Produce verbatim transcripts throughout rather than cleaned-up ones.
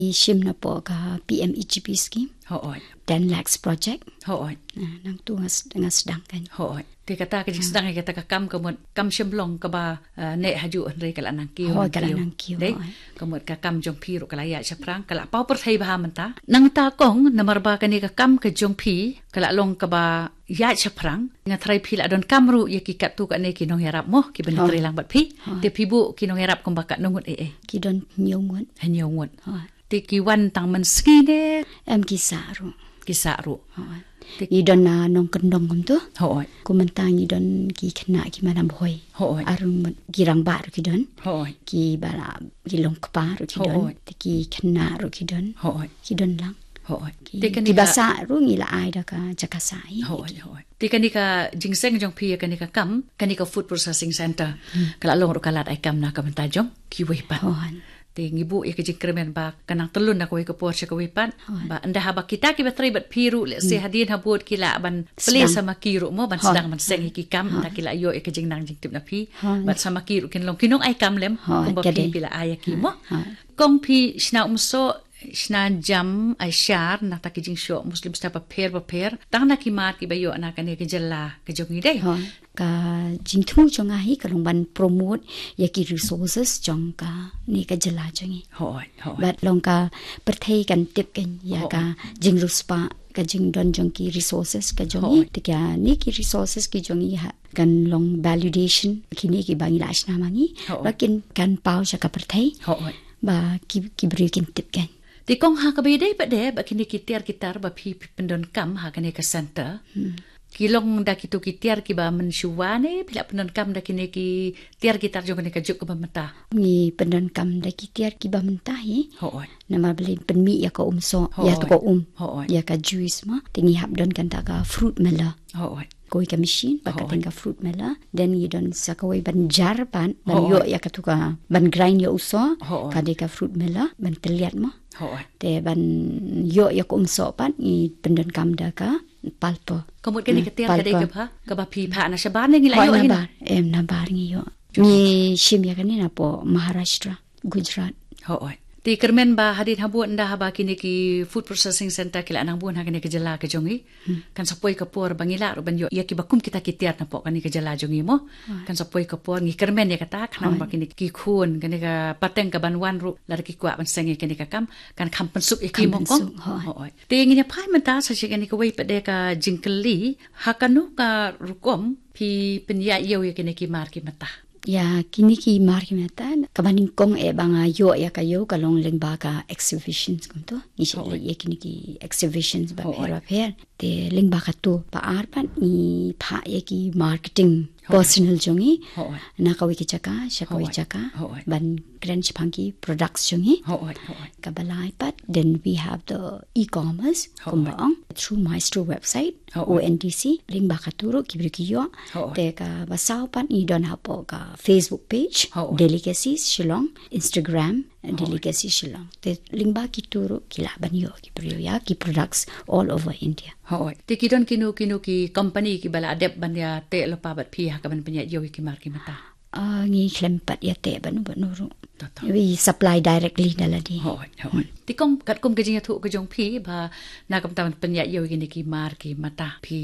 i shim napoh ka P M E G P scheme. Hooid. Ten lakhs project. Hooid. Nangtu nga sdang kan. Hooid. Te kata ka jingsdang ïa kata ka kam ka mut kam shym long kaba, eh, neh hajuh hynrei ka la nang kiew. Hooid, ka la nang kiew. Dei? Hooid. Ka mut ka kam jong phi ruh ka la ïaid shaphrang, ka la paw pyrthei bha mynta. Nangta kong, namar ba kane ka kam ka jong phi ka la long kaba ïaid shaphrang, nga tharai phi la donkam ruh ïa ki katto katne ki nongïarap mo, kiba na trei lang bad phi. Hooid. Te phi buh ki nongïarap kumba katno ngut eh eh? Ki don hynñiew ngut. Hynñiew ngut. Hooid. Te ki wan tang mynsngi ne? Em, ki sah ruh. Ki sah ruh. Hooid. Te ngi don na nongkyndong kumto. Hooid. Kumta ngi don ki khynnah ki manam hoi. Hooid. Ar ngut ki rangbah ruh ki don. Hooid. Kiba la, ki long kpa ruh ki don. Hooid. Te ki khynnah ruh ki don. Hooid. Ki don lang. Hooid. Ki, te kane kiba sah ruh ngi la ai da ka jaka sah hi. Hooid, hooid. Te kane ka jingseng jong phi ïa kane ka kam, kane ka food processing center. Hmm. Ka la long ruh ka lad ai kam na ka bynta jong kiwei pat. Hooid. Te ngi buh ïa ka jingkyrmen ba kan nang tyllun na kawei ka por sha kawei pat. Hooid. Ba ynda haba kita kiba trei bad phi ruh, let's say, hmm, hadien habud ki lah ban plie, sdang, sa ma ki ruh mo, ban, hooid, sdang ban seng ïa ki kam, hooid, ynda ki la ïoh ïa ka jingnang jingtip na phi. Hooid. Bad sa ma ki ruh kin long ki nong ai kam lem, hooid, kumba phi, ka dei, phi la ai ïa ki mo. Hooid. Kong, phi shna umsoh, shna jam, ai shar na kata ki jingshoh Muslim style bapher bapher, tang na ki mar kiba ïoh na kane ka jylla ka jong ngi, dei? Hooid. Ka jingthmu jong nga hi ka long ban promote ïa ki resources jong kane ka jylla jong ngi. Hooid, hooid. Bad long ka pyrthei kan tip kan ïa, hooid, ka jingriewspah, ka jingdon jong ki resources ka jong ngi. Hooid. Te kane ki resources ki jong ngi ha kan long validation, kine kiba ngi la shna ma ngi. Hooid. Ba kin, kan paw sha ka pyrthei. Hooid. Ba ki, ki briew kin tip kan. Te kong, ha kaba ïadei pat de bad kine ki tiar ki tar ba phi, phi pyndonkam ha kane ka center. Hmm. Ki long da kito ki tiar kiba mynshuwa ne phi la pyndonkam da kine ki tiar ki tar jong kane ka juk kaba mynta? Ngi pyndonkam da ki tiar kiba mynta hi. Hooid. Namar balei, pynmih ïa ka umsoh, ïa, hooid, to ka um. Hooid. Ïa ka juice mo. Te ngi hap don kata ka fruit miller. Hooid. Kawei ka machine, ba, hooid, kata ka fruit miller. Then ngi don sa kawei ban jar pat, ban, hooid, ïoh ïa kato ka, ban grind ïa u soh. Hooid. Ka dei ka fruit miller, ban tylliat mo. Hooid. Te ban ïoh ïa ka umsoh pat, ngi pyndonkam da ka pulper. Ka mut kane, hmm, ka tiar ka dei, pulper, kaba, kaba phi phah na shabar ne ngi la, hooid, ïoh hi na bar? Em, na bar ngi ïoh. Ngi shim ïa kane napoh Maharashtra, Gujarat. Hooid. Te kyrmen ba hadien habud ynda haba kine ki food processing center ki la nang bun ha kane ka jylla ka jong ngi. Hmm. Kan sa poi ka por ba ngi lah ruh ban ïoh ïa kiba kum kita ki tiar napoh kane ka jylla jong ngi mo. Hooid. Kan sa poi ka por, ngi kyrmen ïa kata, khnang, hooid, ba kine ki khun, kane ka pateng kaban wan ruh, lada ki kwah ban seng ïa kane ka kam, kan kham pynsuk ïa ki mo kong. Kham pynsuk, hooid. Hooid. Te ngin ïa phai mynta sa sha kane kawei pat de ka jingkylli, ha kano ka rukom phi pynïaid ïew ïa kine ki mar ki mata? Ïa kine ki mar ki mata, kaba nyngkong eh ba nga ïoh ïa ka ïew ka long lyngba ka exhibitions kumto. Ngi shait, hooid, leit ïa kine ki exhibitions, hooid, bapher bapher. Te lyngba kato, ba ar pat ngi phah ïa ki marketing, hooid, personnel jong ngi. Hooid. Na kawei ka jaka sha kawei, hooid, jaka. Hooid. Ban kren shaphang ki products jong ngi. Hooid, hooid. Kaba lai pat, then we have the e-commerce, hooid, kumba ong, through Maestro website, hooid, O N D C, lyngba kato ruh ki briew ki ïoh. Hooid. Te kaba saw pat ngi don hapoh ka Facebook page, hooid, Delicacies Shillong, Instagram, hooid, Delicacies Shillong. Te lyngba kito ruh ki lah ban ïoh ki briew ïa ki products all over India. Hooid. Te ki don kino kino ki company kiba la dep ban ïateh lypa bad phi ha kaban pynïaid ïew ïa ki mar ki mata? Ah, ngi khlem pat ïateh bad uno bad uno ruh. To, to. We supply directly da lade. Hooid, hooid. Hmm. Te kong, katkum ka jingïathuh ka jong phi ba na ka bynta ban pynïaid ïew ïa kine ki mar ki mata, phi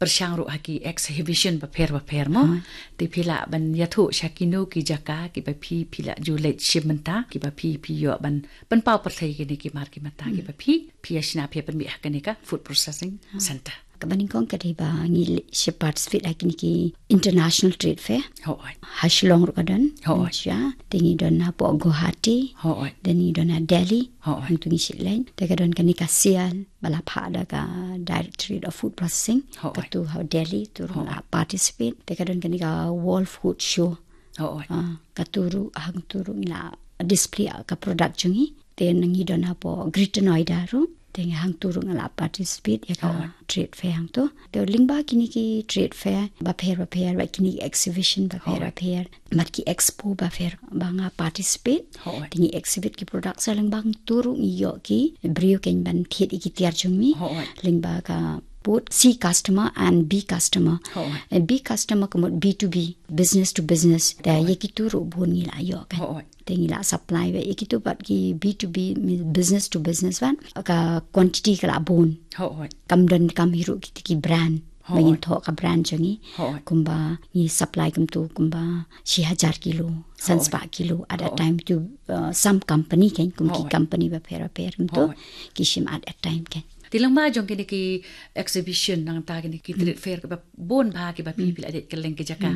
pyrshang ruh ha ki exhibition bapher bapher mo. Hooid. Te phi lah ban ïathuh sha kino ki jaka kiba phi, phi la ju leit shim mynta, kiba phi, phi ïoh ban pynpaw pyrthei ïa kine ki mar ki mata, hmm, kiba phi, phi ïa shna, phi ïa pynmih ha kane ka food processing, hooid, center. Kaba nyngkong ka dei ba ngi leit sha participate ha kine ki international trade fair. Hooid. Ha Shillong ruh ka don. Hooid. Sha, te ngi don hapoh Guwahati. Hooid. Then ngi don ha Delhi. Hooid. Hangto ngi shait leit. Te ka don kane ka sial ba la phah da ka Directorate of Food Processing. Hooid. Kato ha Delhi, to ruh, hooid, la participate. Te ka don kane ka World Food Show. Hooid. Ah, kato ruh, hangto ruh ngi la display ka product jong ngi. Te ngi don hapoh Greater Noida ruh. Te ngi hangto ruh ngi la participate ïa ka, hooid, trade fair hangto. Te lyngba kine ki trade fair bapher bapher, bad kine ki exhibition bapher, hooid, bapher, bad ki expo bapher ba nga participate. Hooid. Te ngi exhibit ki products, lyngba hangto ruh ngi ïoh ki briew kein ban thied ïa ki tiar jong ngi. Hooid. Lyngba ka both C customer and B customer. Hooid. Eh, B customer ka mut B two B, business to business. Te ïa kitu ruh bun ngi la ïoh kan. Hooid. Te ngi la supply ba ïa kitu pat ki B two B, business to business, ban ka quantity ka la bun. Hooid. Kam don kam hi ruh kita ki brand. Hooid. Ba ngin thoh ka brand jong ngi. Hooid. Kumba ngi supply kumtu kumba shi hajar kilo, san spah kilo at a time tu, uh, some company kan, kum ki company bapher bapher kumtu ki shim at a time kan. Te lyngba jong kine ki exhibition nangta kine ki trade fair kiba bun bha kiba phi phi la dei kylleng ki jaka.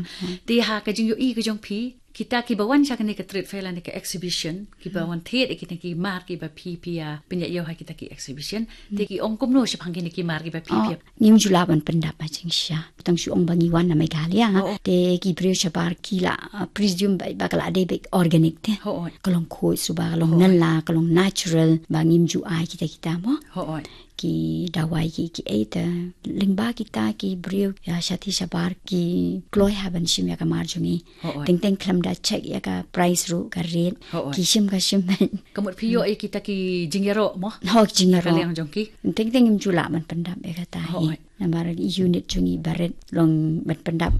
Te ha ka jingïohi ka jong phi, kita kiba wan sha kane ka trade fair lane ka exhibition, kiba wan thied ïa kine ki mar kiba phi phi ïa pynïaid ïa ha kita ki exhibition. Te ki ong kumno shaphang kine ki mar kiba phi phi ïa. Ngim ju lah ban pyndap ha jingshisha. Tang shu ong ba ngi wan na Meghalaya. Te ki briew shabar ki la, uh, presume ba, ba ka la dei beit organic te. Ka long khuid suba, ka long nala, ka long natural, ba ngim ju ai kita kita mo. Ki dawai ki, ki ei te. Lyngba kita ki briew ïa shathie shabar ki kloi ha ban shim ïa ka mar jong ngi. Teng teng khlem da check ïa ka price ruh ka rate. Ki shim ka shim. Ka mut phi ïoh ïa kita ki jingïaroh mo. Ho, ki jingïaroh. Ka liang jong ki. Teng teng ngim ju lah ban pyndap ïa kata hi. Namar unit jong ngi barit long ban pyndap.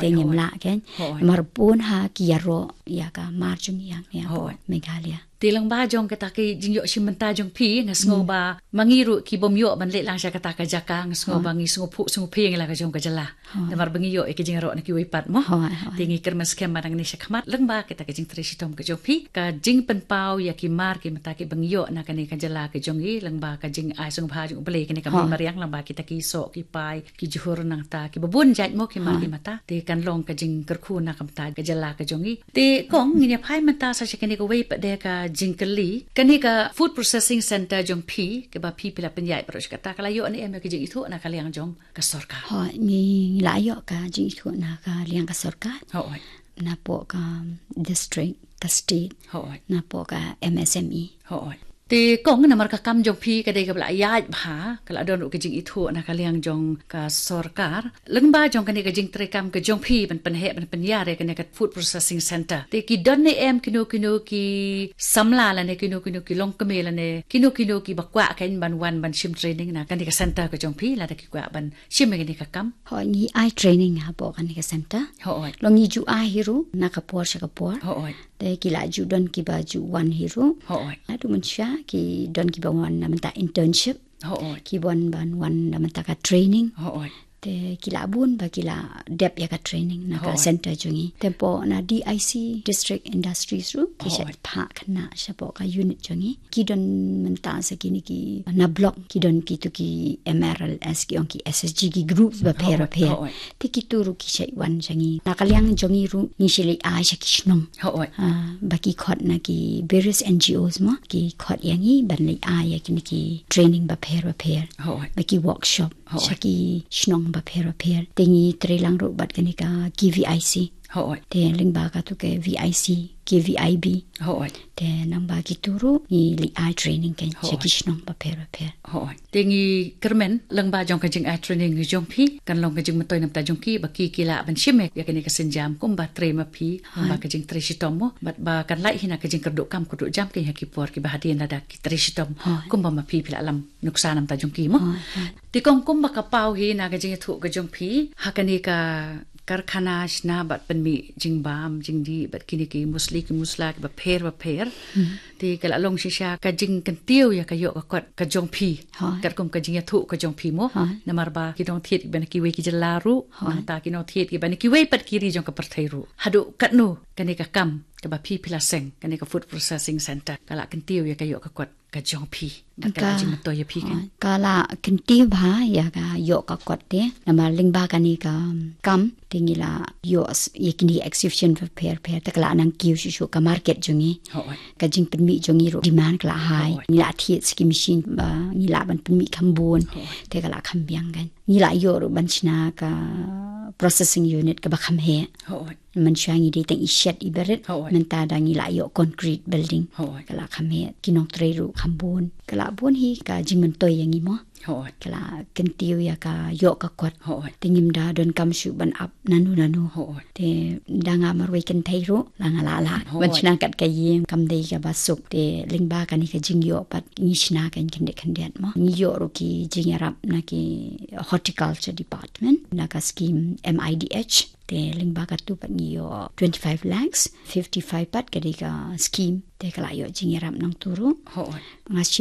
Te ngim lah kan. Namar bun ha ki ïaroh ïa ka mar jong ngi ïa Meghalaya. Te lyngba jong kata ki jingïoh shim bynta jong phi nga sngew ba ma ngi ruh ki bym ïoh ban leit lang sha kata ka jaka, nga sngew ba ngi sngewphuh sngewphieng la ka jong ka jylla. Namar ba ngi ïoh ïa ki jingïaroh na kiwei pat mo. Te ngi kyrmen skhem ba nangne shakhmat lyngba kata ka jingtrei shitom ka jong phi, ka jingpynpaw ïa ki mar ki mynta kiba ngi ïoh na kane ka jylla ka jong ngi, lyngba ka jingai sngewbha jong U Blei, kane ka mei mariang, lyngba kita ki soh ki pai, ki jhur nangta kiba bun jait mo ki mar ki mynta. Te kan long ka jingkyrkhu na ka bynta ka jylla ka jong ngi. Te kong, ngin ïa phai mynta sa sha kane kawei pat de ka jingkylli. Kane ka food processing center jong phi, kaba phi phi la pynïaid baroh shi katta, ka la ïoh ne em ïa ka jingithuh na ka liang jong ka sorkar? Ho, ngi la ïoh ka jingithuh na ka liang ka sorkar. Napoh ka district, ka state. Napoh ka M S M E. Te kong, namar ka kam jong phi ka dei kaba la ïaid bha, ka la don ruh ka jingithuh na ka liang jong ka sorkar. Lyngba jong kane ka jingtrei kam ka jong phi ban pynheh ban pynïar ïa kane ka food processing center, te ki don ne em kino kino ki samla lane kino kino ki longkmie lane kino kino kiba kwah kan ban wan ban shim training na kane ka center ka jong phi, lada ki kwah ban shim ïa kane ka kam? Ho, ngi ai training hapoh kane ka center. Long ngi ju ai hi ruh na ka por sha ka por. Te ki la ju don kiba ju wan hi ruh. Naduh mynshuwa ki don kiba wan na bynta internship. Ki wan ban wan na bynta ka training. Te ki la bun ba ki la dep ïa ka training na ka center jong ngi. Te hapoh na D I C, District Industries ruh, ki shait phah khynnah shapoh ka unit jong ngi. Ki don mynta sa kine ki na block, ki don kitu ki M R L S, ki ong ki S H G, ki groups bapher bapher. Te kitu ruh ki shait wan sha ngi. Na ka liang jong ngi ruh ngi shait leit ai sha ki shnong. Ba ki khot na ki various N G Os mo, ki khot ïa ngi ban leit ai ïa kine ki training bapher bapher. Ba ki workshop sha ki shnong bapher bapher. Te ngi trei lang ruh bad kane ka K V I C. Te lyngba katu ka V I C, K V I B. Te nangba kitu ruh ngi leit ai training kan sha ki shnong bapher bapher. Te ngi kyrmen lyngba jong ka jingai training jong phi kan long ka jingmyntoi na bynta jong ki, ba ki ki lah ban shim ïa kane ka sienjam kumba trei ma phi, lyngba ka jingtrei shitom mo, bad ba kan lait hi na ka jingkyrduh kam kyrduh jam kan ha ki por kiba hadien lada ki trei shitom kumba ma phi phi la lam nuksa na bynta jong ki mo. Te kong, kumba ka paw hi na ka jingïathuh ka jong phi, ha kane ka karkhana shna bad pynmih jingbam jingdih bad kine ki musli ki musla kiba pher bapher. Te ka la long shisha ka jingkyntiew ïa ka ïoh ka kot ka jong phi. Katkum ka jingïathuh ka jong phi mo. Namar ba ki nongthied kiba na kiwei ki jylla ruh, nangta ki nongthied kiba na kiwei pat ki ri jong ka pyrthei ruh. Haduh katno kane ka kam kaba phi phi la seng, kane ka food processing center, ka la kyntiew ïa ka ïoh ka kot ka jong phi? Ka la jingmyntoi ïa phi kan? Ka la kyntiew bha ïa ka ïoh ka kot te. Namar lyngba kane ka kam te ngi la ïoh ïa kine exhibition bapher bapher, te ka la nang kiew shuh shuh ka market jong ngi. Ka jingpynmih jong ngi ruh demand ka la high. Ngi la thied sa ki machine ba ngi lah ban pynmih kham bun. Te ka la kham biang kan. Ngi la ïoh ruh ban shna ka processing unit kaba kham heh. Mynshuwa ngi dei tang i shed i barit. Mynta da ngi la ïoh concrete building. Ka la kham heh, ki nongtrei ruh kham bun. Ka la bun hi ka jingmyntoi ïa ngi mo. Hooid. Ka la kyntiew ïa ka ïoh ka kot. Hooid. Te ngim da donkam shuh ban ap nanu nanu. Hooid. Te da nga marwei kynthei ruh la nga lah lah. Hooid. Ban shna kat ka ïing kam dei kaba suk. Te lyngba kane ka jingïoh pat ngi shna kane khyndiat khyndiat mo. Ngi ïoh ruh ki jingïarap na ki horticulture department na ka scheme M I D H. Te lyngba katu pat ngi ïoh twenty-five lakhs, fifty-five pat ka dei ka scheme. Te ka la ïoh jingïarap nangtu ruh. Hooid. Nga shim